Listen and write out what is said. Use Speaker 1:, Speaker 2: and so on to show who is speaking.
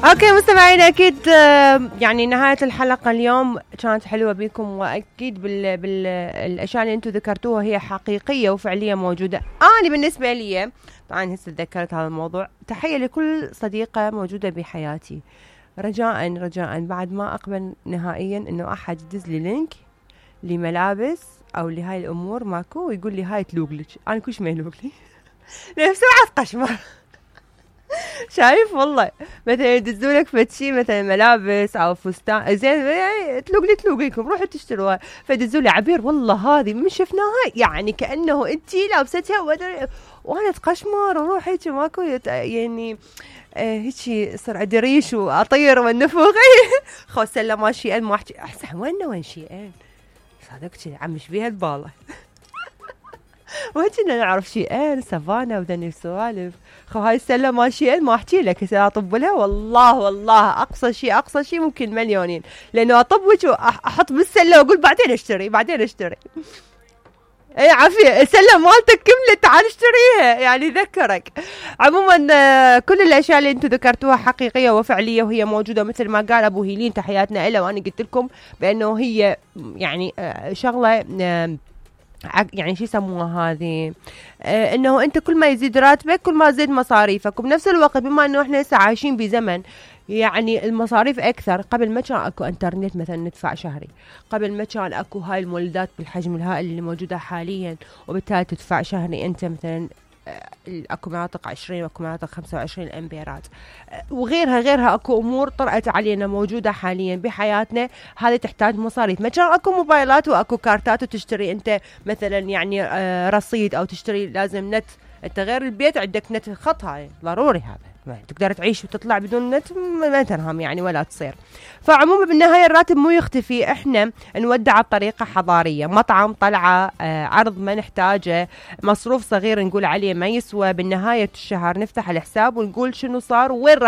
Speaker 1: اوكي مستمعينا اكيد يعني نهاية الحلقة اليوم كانت حلوة بيكم، واكيد بالاشياء اللي انتم ذكرتوها هي حقيقية وفعلية موجودة. انا بالنسبة لي طبعا هسه تذكرت هذا الموضوع، تحية لكل صديقة موجودة بحياتي. رجاء بعد ما اقبل نهائيا انه احد يدز لي لينك لملابس او لهاي الامور ماكو ويقول لي هاي تلوقلك، انا كلش ما يلوقلي بسرعة قشمر. شايف والله مثلا يدزولك فتشي مثلا ملابس او فستان زين تلوقلكم روحوا تشتروها، فيدزولي عبير والله هذه من شفناها يعني كانه انتي لابستها وانا اتقشمر واروح هيك ماكو يعني هيك صار عندي ريش واطير والنفوخ. خو سله ماشي ما احكي احسن وين شيئين صادقتي عم مش بيها الباله. وهيجينا نعرف شيئين سافانا ودني سوالف. خو هاي السله ماشيين ما احكي لك هسه اطب لها والله اقصى شيء ممكن مليونين، لانه اطبك واحط بالسله واقول بعدين اشتري اي عافيه السله مالتك كملت تعال اشتريها يعني ذكرك. عموما كل الاشياء اللي انتم ذكرتوها حقيقيه وفعليه وهي موجوده مثل ما قال ابو هيلين تحياتنا له، وانا قلت لكم بانه هي يعني شغله يعني شو يسموها هذه انه انت كل ما يزيد راتبك كل ما زيد مصاريفك، وبنفس الوقت بما انه احنا هسه عايشين بزمن يعني المصاريف اكثر. قبل ما كان اكو انترنت مثلا ندفع شهري، قبل ما كان اكو هاي المولدات بالحجم الهائل اللي موجوده حاليا وبالتالي تدفع شهري انت مثلا اكو مناطق 20 واكو مناطق 25 امبيرات وغيرها اكو امور طرأت علينا موجوده حاليا بحياتنا هذه تحتاج مصاريف. ما كان اكو موبايلات واكو كارتات وتشتري انت مثلا يعني رصيد او تشتري لازم نت، انت غير البيت عندك نت خط هاي ضروري هذا تقدر تعيش وتطلع بدون نت ما تنهم يعني ولا تصير. فعموما بالنهاية الراتب مو يختفي، احنا نودع بطريقة حضارية، مطعم طلعة عرض ما نحتاجه، مصروف صغير نقول عليه ما يسوى، بالنهاية الشهر نفتح الحساب ونقول شنو صار وين راح